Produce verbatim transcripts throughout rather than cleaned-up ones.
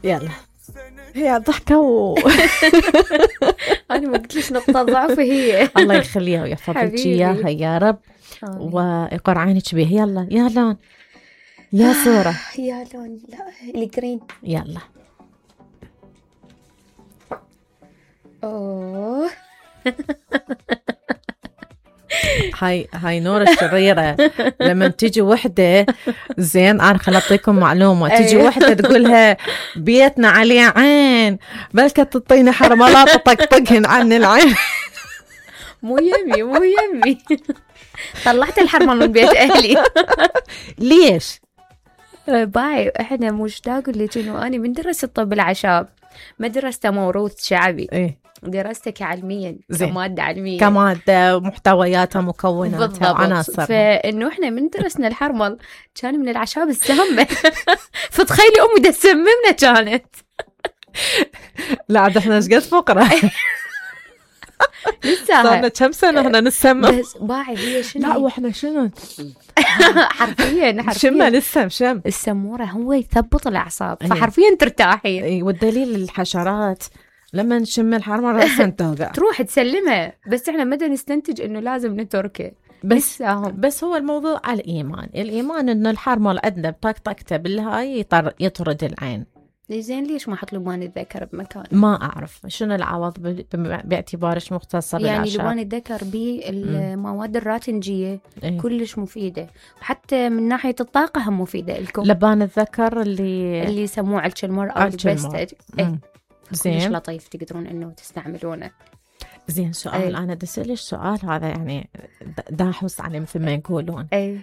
يلا هي ضحكة و أنا ما قلت ليش نقطة ضعف هي. الله يخليها ويحفظك إياها يا رب ويقر عينك بيها. يلا يا لون يا صورة يا لون لا الجرين. يلا أوه هاي هاي نور الشريرة لما تيجي وحدة زين. أنا خل أعطيكم معلومة. تيجي وحدة تقولها بيتنا عليه عين بلكة تطيني حرملات تطقطقهن عن العين. مو يمي مو يمي طلعت الحرمل من بيت أهلي. ليش؟ باي احنا مشتاق اللي كأنه أنا من درست طب الأعشاب مدرسة موروث شعبي. إيه درستك علميا زين. كمادة علمية كمادة محتوياتها مكوناتها وعناصر. فإنه إحنا من درسنا الحرمل كان من الأعشاب السامة. فتخيلي أمي دا تسممنا كانت. لا عاد إحنا إيش قد فقرة. لسه صارنا كم سنة إحنا نسمم. بس باعي هي شنو. لا وإحنا شنو حرفيا حرفيا شمة لسه شم. السمورة هو يثبط الأعصاب فحرفيا ترتاحين. أي والدليل الحشرات لما نشم الحرمة رأسا توقع تروح تسلمها. بس احنا مدى نستنتج انه لازم نتركه. بس بس هو الموضوع على الإيمان. الإيمان إنه الحرمة عندنا بطقطقته بالهاي يطرد العين. زين ليش ما حط لبان الذكر بمكان؟ ما أعرف شنو العوض باعتبارش مختصة يعني لبان الذكر بالمواد الراتنجية إيه؟ كلش مفيدة وحتى من ناحية الطاقة هم مفيدة لكم. لبان الذكر اللي اللي يسموه علشمر أو البستج. إيه؟ زين مش لطيف تقدرون إنه تستعملونه. زين سؤال أي. أنا دسألش سؤال هذا يعني داحوس عليه مثل ما يقولون. أي.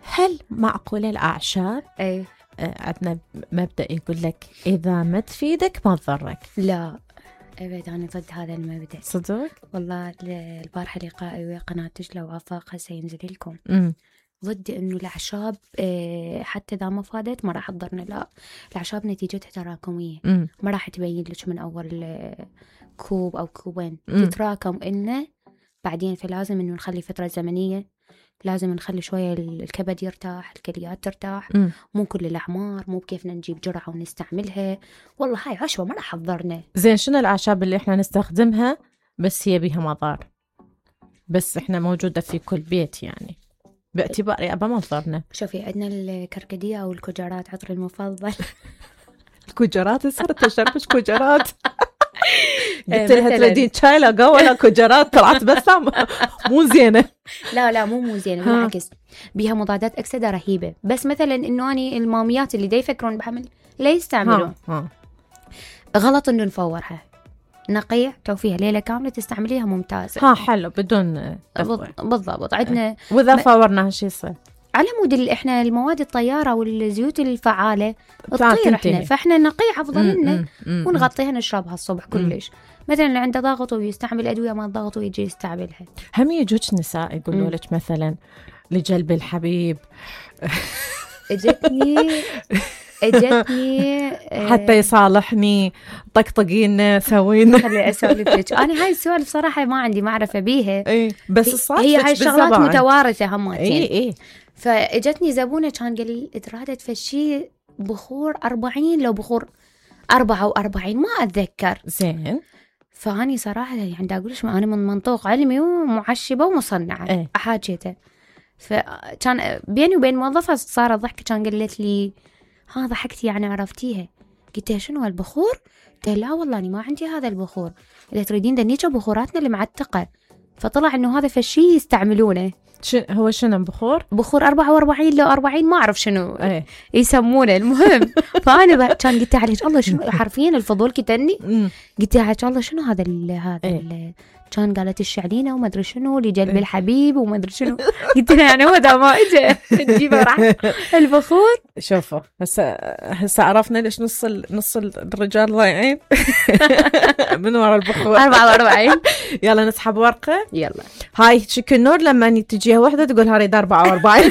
هل معقول الأعشاب أي. عندنا مبدأ يقول لك إذا ما تفيدك ما تضرك؟ لا أبد أنا ضد هذا المبدأ. صدق؟ والله البارحة لقائي ويا قناة تجلى وآفاقها سينزل لكم. م. ضد إنه الأعشاب حتى إذا ما فادت ما راح تضرنا. لا الأعشاب نتيجتها تراكمية. م. ما راح تبين لك من أول كوب أو كوبين تتراكم إنه بعدين. فلازم إنه نخلي فترة زمنية. لازم نخلي شوية الكبد يرتاح الكليات ترتاح. م. مو كل الأعمار مو بكيفنا نجيب جرعة ونستعملها. والله هاي عشوة ما راح تضرنا. زين شنو الأعشاب اللي إحنا نستخدمها بس هي بيها مضار بس إحنا موجودة في كل بيت يعني باعتبار أبا ما تضرنا؟ شوفي عندنا الكركديه أو الكجرات عطري المفضل. الكجرات صرت تشربش كجرات. قلت لها تريدين شاي لا قهوة لا كجرات طلعت بس مو زينة. لا لا مو مو زينة بالعكس بيها مضادات أكسدة رهيبة. بس مثلا إنه أني الماميات اللي دا يفكرون بحمل لا يستعملون. ها. ها. غلط إنه نفورها نقيع توفيها ليلة كاملة تستعمليها ممتازة. ها حلو بدون بالضبط. عندنا وإذا م... فورناها شي يصير على مود احنا المواد الطيارة والزيوت الفعالة تطير احنا فاحنا نقيع أفضل لنا ونغطيها نشربها الصبح كلش. مثلا اللي عنده ضغط ويستعمل أدوية ما ضغط ويجي يستعملها. هم يجوك نساء يقولوا لك مثلا لجلب الحبيب. اجتني اجتني حتى يصالحني طقطقينا سوينا. خلي اسولف لك انا هاي السوالف صراحه ما عندي معرفه بيها. اي بس الصراحه هي هاي الشغلات متوارثه هماتين. اي اي فاجتني زبونه كان قال ترادت فشي بخور أربعين لو بخور أربعة وأربعين ما اتذكر. زين فاني صراحه يعني دا اقولش انا من منطوق علمي ومعشبه ومصنعه ايه؟ احاجيته. فكان بيني وبين موظفة صار ضحك كان قالت لي ها ضحكتي يعني عرفتيها. قلت لها شنو هالبخور؟ قلت لا والله أنا ما عندي هذا البخور. إذا تريدين دنيجة بخوراتنا اللي معتقة. فطلع إنه هذا فشي يستعملونه. شن هو شنو بخور؟ بخور أربعة وأربعين لو أربعين ما أعرف شنو ايه؟ يسمونه. المهم فأنا كان قلت لها الله شنو حرفيا الفضول كتني. قلت لها الله شنو هذا ال هذا ال كان قالت الشعلينة وما أدري شنو لجلب الحبيب وما أدري شنو. قلت لها يعني هو ده ما إجا تجيبه راح البخور. شوفوا هسه هسه عرفنا ليش نص ال... نص الرجال ضايعين من وراء البخور. أربعة وأربعين. يلا نسحب ورقة. يلا هاي شكل نور لما تجيها واحدة تقول هاريد أربعة وأربعين.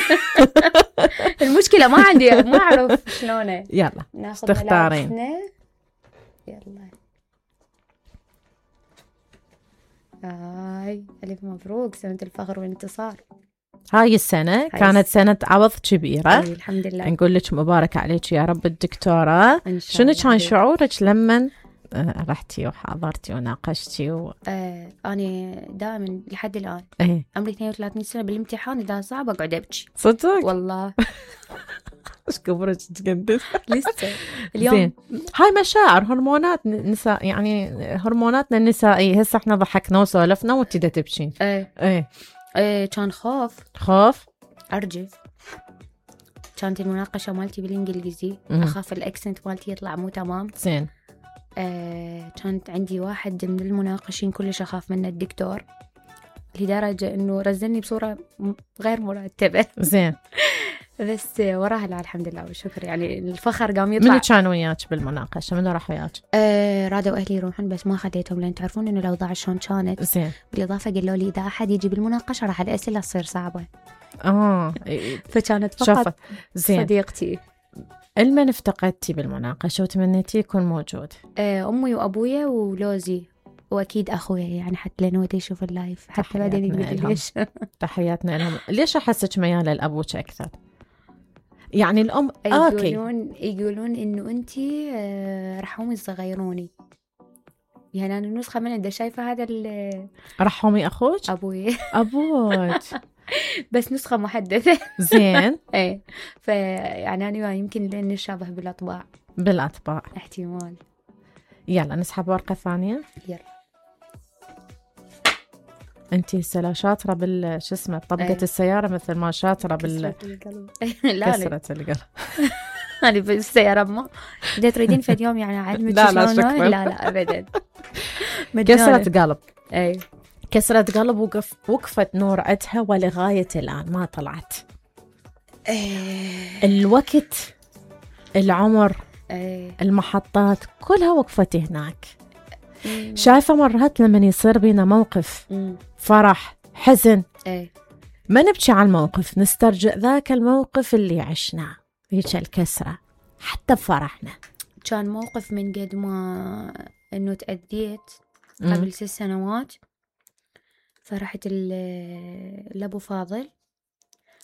المشكلة ما عندي ما أعرف شلونه. يلا تختارين. يلا هاي ألف مبروك سنة الفخر والانتصار. هاي السنة هاي كانت سنة عوض كبيرة. أي الحمد لله. نقول لك مبارك عليك يا رب الدكتورة. إن شاء شنو الله كان حبيبي. شعورك لما آه، رحتي وحاضرتي وناقشتي و... آه أنا دائما لحد الآن ايه عمري اثنين وثلاثين سنة بالامتحان إذا صعب أقعد أبكي صدق والله. ايش كبرك تقدس لسه اليوم. زين. هاي مشاعر هرمونات نساء، يعني هرموناتنا النسائية. هسه احنا ضحكنا وسولفنا وانتي دا تبكين. ايه ايه ايه كان خوف خوف. أرجف. كانت المناقشة مالتي بالإنجليزي، مم. أخاف الأكسنت مالتي يطلع مو تمام. زين. آه كانت عندي واحد من المناقشين كلش أخاف منه الدكتور، لدرجة إنه رزلني بصورة م- غير مرتبة. زين. بس وراها لا الحمد لله والشكر، يعني الفخر قام يطلع. منو كان وياك بالمناقشة؟ منو راح وياك؟ آه رادوا أهلي يروحون بس ما خديتهم، لأن تعرفون إنه الأوضاع شلون كانت. زين. بالإضافة قالوا لي إذا أحد يجي بالمناقشة راح الأسئلة تصير صعبة، اه فكانت فقط شوف. زين. صديقتي. المن افتقدتي بالمناقشة وتمنيتي يكون موجود؟ آه أمي وأبويا ولوزي، وأكيد أخويا، يعني حتى لأنه ودي يشوف اللايف حتى بعدين تحياتنا يقول لهم. ليش. تحياتنا لهم. ليش أحسك ميالة لأبوك أكثر؟ يعني الأم أوكي. يقولون يقولون إنه أنتي آه رحومي يصغيروني، يعني أنا النسخة من عنده شايفة هذا ال- رحومي أخوك؟ أبوي أبوك. بس نسخة محدثة. زين. إيه فيعني أنا يمكن لأن نشابه بالأطباع بالأطباع. احتمال. يلا نسحب ورقة ثانية. يلا. أنتي هسه شاطرة بال شو اسمه طبقة أي. السيارة مثل ما شاطرة بال كسرة القلب. لا لا كسرة القلب. أنا بالسيارة ما إذا تريدين في اليوم يعني أعلمك لا لا شلون. شكراً. لا لا أبدا. كسرة قلب. أي كسرة قلب. وقف وقفت نور عدها ولغاية الآن ما طلعت. أي الوقت، العمر، أي المحطات كلها وقفت هناك. شايفة مرات لما يصير بينا موقف أمم. فرح حزن أي ما نبكي على الموقف، نسترجع ذاك الموقف اللي عشناه، هيك الكسرة حتى بفرحنا. كان موقف من قد ما إنه تأذيت مم. قبل ست سنوات، فرحت ال- لأبو فاضل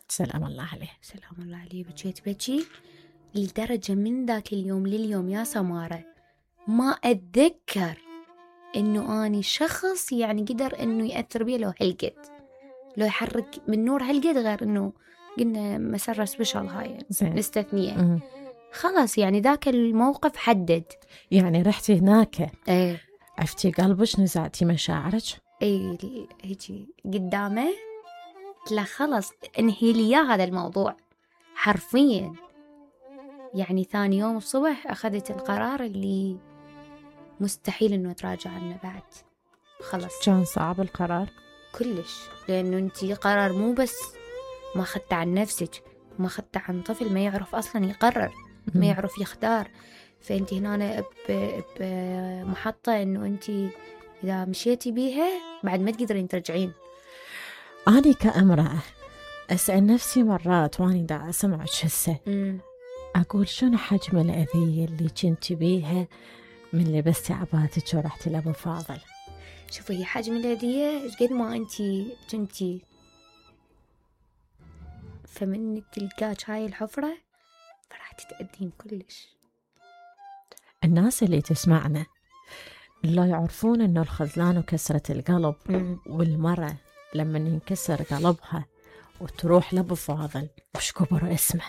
سلام الله عليه. سلام الله عليه. بكيت بكي لدرجة من ذاك اليوم لليوم يا سمارة ما أتذكر إنه أني شخص يعني قدر إنه يأثر بي لو هالقد، لو يحرك من نور هالقد، غير إنه قلنا مسرة سبيشال هاي زين. مستثنية. مم. خلاص يعني ذاك الموقف حدد. يعني رحتي هناك ايه عفتي قلبك، نزعتي مشاعرك. ايه هيجي قدامه لا خلص انهي لي إياه هذا الموضوع حرفيا. يعني ثاني يوم الصبح أخذت القرار اللي مستحيل إنه تراجع عنه بعد. خلص كان صعب القرار كلش، لأنه أنتي قرار مو بس ما خدت عن نفسك، ما خدت عن طفل ما يعرف أصلا يقرر، ما يعرف يختار. فأنتي هنا بمحطة إنه أنتي إذا مشيتي بيها بعد ما تقدرين ترجعين. أنا كامرأة أسأل نفسي مرات واني دا أسمعك هسه، أمم. أقول شنو حجم الأذية اللي كنت بيها من لبستي عباتك ورحتي لأبو فاضل. شوفي هي حجم الهدية قد ما أنتي كنتي فمنك تلقاك هاي الحفرة فراح تتأذين كلش. الناس اللي تسمعنا لا يعرفون أنه الخذلان وكسرة القلب مم. والمرأة لما ينكسر قلبها وتروح لأبو فاضل وش كبر اسمه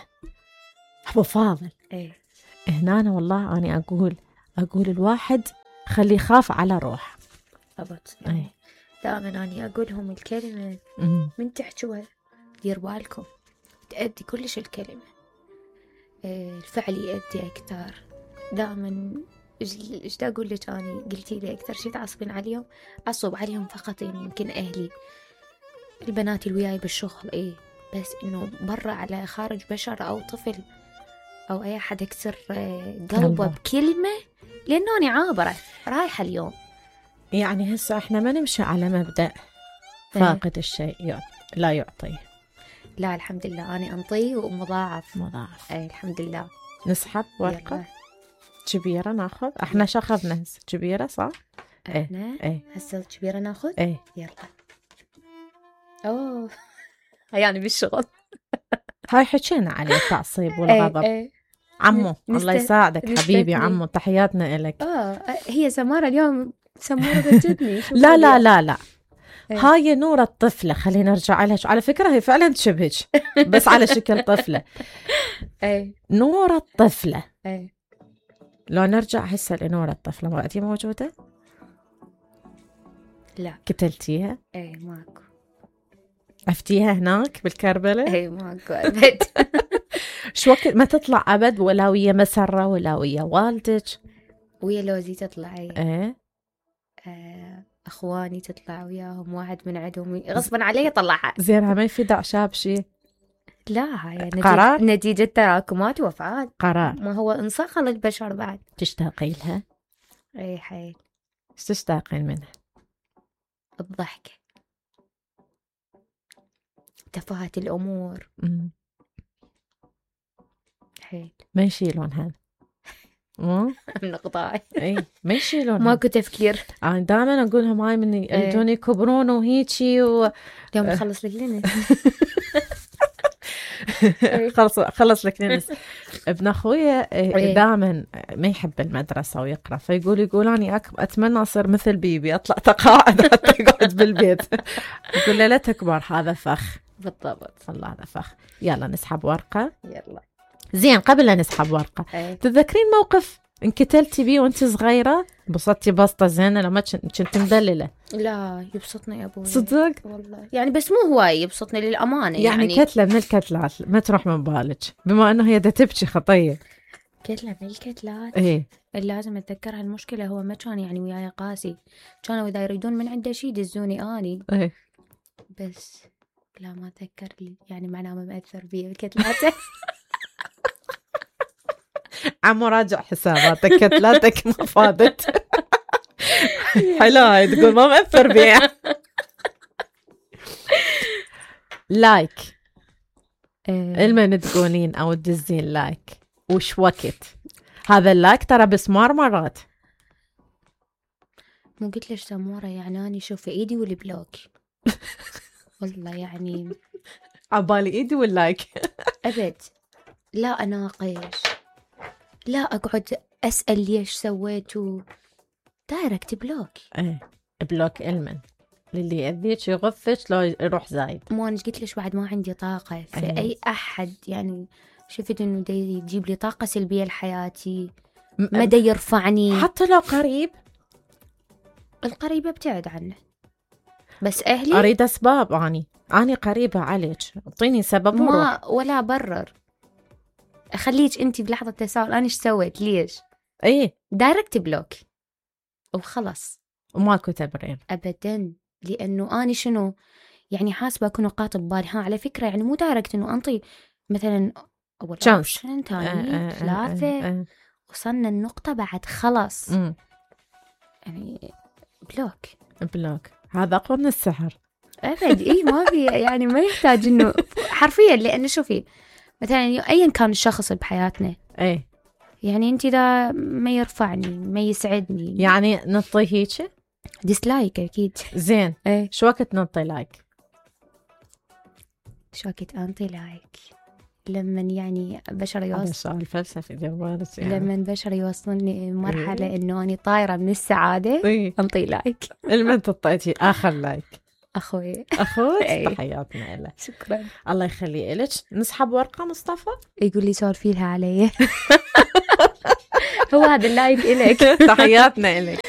أبو فاضل. ايه هنا أنا والله أنا أقول أقول الواحد خلي يخاف على روح. أبط أي. دائما أنا أقولهم الكلمة أمم. من تحجوها دير بالكم تأدي كلش الكلمة. إيه الفعل يأدي أكثر. دائما إيش دا أقول لك أنا قلتي لي أكثر شيء تعصبين عليهم، أعصب عليهم فقط يعني يمكن أهلي البنات اللي وياي بالشغل إيه، بس إنه برا على خارج بشر أو طفل أو أي أحد يكسر قلبه بكلمة، لأنه أنا عابرة رايحة اليوم. يعني هسه احنا ما نمشي على مبدأ فاقد الشيء لا يعطيه. لا الحمد لله أنا أنطي ومضاعف مضاعف. أي الحمد لله. نسحب ورقة يلا. كبيرة ناخذ. احنا شخذنا هسه كبيرة صح؟ احنا ايه هسه كبيرة ناخذ. ايه يلا. اوه يعني بالشغل. هاي حكينا عليه التعصيب والغضب. ايه ايه. عمو نست... الله يساعدك حبيبي. نستثني. عمو تحياتنا إلك. اه هي سمارة اليوم سمورة بجدني. لا لا لا لا ايه. هاي نورة الطفلة، خلينا نرجع لها. على فكرة هي فعلا تشبهك بس على شكل طفلة. ايه نورة الطفلة. ايه. لو نرجع هسه لنورة الطفلة، مرأتي موجودة؟ لا. قتلتيها؟ ايه ماكو. عفتيها هناك بالكربلة؟ ايه ماكو ابد. شو وقت ما تطلع أبد؟ ولا ويا مسرة ولا ويا والدك؟ ويا لوزي تطلع. ايه. آه اخواني تطلع وياهم، واحد من عندهم غصبا علي طلعها. زين ما يفيد أعشاب شيء؟ لا هاي نتيجة, قرار؟ نتيجة تراكمات وافعال. قرار. ما هو انصقل البشر بعد. تشتاقي لها؟ اي حيل. ايش تشتاقين منها؟ الضحكة، تفاهة الأمور. مم. حيل. ما يشيلون هذا. مو من قطاعي. اي ما يشيلون. ماكو تفكير. انا دائما اقول لهم هاي من يريدون يكبرون وهيجي و... اليوم نخلص لك لنا. خلص خلص لك ننس. ابن اخويا دائما ما يحب المدرسه ويقرا، فيقول يقول انا اتمنى اصير مثل بيبي، اطلع تقاعد حتى يقعد بالبيت. يقول له لا تكبر، هذا فخ. بالضبط. والله هذا فخ. يلا نسحب ورقه. يلا. زين قبل لا نسحب ورقه، أيه. تتذكرين موقف انكتلتي بيه وانت صغيره؟ بسطتي بسطه زينه لما كنت مدلله؟ لا يبسطني يا ابوي صدق والله، يعني بس مو هواي يبسطني للامانه. يعني, يعني كتله من الكتلات ما تروح من بالك، بما انه هي دا تبكي خطيه. كتله من الكتلات ايه اللي لازم اتذكرها. المشكله هو ما كان يعني وياي قاسي، كانوا اذا يريدون من عنده شيء يدزوني اني. ايه بس لا ما اتذكر لي، يعني معناه ما مأثر بي الكتلاته. عمو راجع حساباتك، كتلاتك ما فادت. حلو هاي تقول ما مأثر بيها. لايك المن تقولين او تدزين لايك وش وقت هذا اللايك؟ ترى بسمار مرات. مو قلت ليش سمورة يعني اني شوف ايدي والبلوك. والله يعني عبالي ايدي واللايك. ابد لا اناقش، لا اقعد اسال ليش سويتوا، دايركت بلوك. ايه بلوك المن للي يأذيك يغثك لو يروح زايد. مو انا قلت ليش بعد ما عندي طاقه في أيه. اي احد يعني شفت انه دا يجيب لي طاقه سلبيه لحياتي، ما دا يرفعني. حتى لو قريب، القريبه ابتعد عنه، بس اهلي اريد اسباب. اني اني قريبه عليك، اعطيني سبب ما وروح. ولا برر، اخليك انت بلحظه تساؤل انا ايش سويت ليش. ايه دايركت بلوك وخلص، وماكو تبرير ابدا. لانه اني شنو يعني حاسبه اكون قاطب بالي. ها على فكره يعني مو دايركت انه انطي مثلا اول اوبشن ثاني ثلاثه، وصلنا النقطه بعد خلاص. م. يعني بلوك بلوك هذا اقوى من السحر. ابد. اي ما في يعني ما يحتاج انه حرفيا. لانه شوفي مثلا ايا كان الشخص بحياتنا، ايه يعني انت اذا ما يرفعني ما يسعدني يعني نطي هيك ديسلايك اكيد. زين ايه شو وقت نطي لايك؟ شو وقت انطي لايك؟ لما يعني بشر يوصل سؤال فلسفي جوالك يعني. لما البشر يوصلني مرحله إيه؟ انه اني طايره من السعاده إيه؟ انطي لايك. المن تطيتي اخر لايك؟ اخوي اخوك. إيه؟ تحياتنا له. شكرا. الله يخلي لك. نسحب ورقه مصطفى. يقول لي سولفي لها علي. هو هذا اللايك إلك. تحياتنا لك.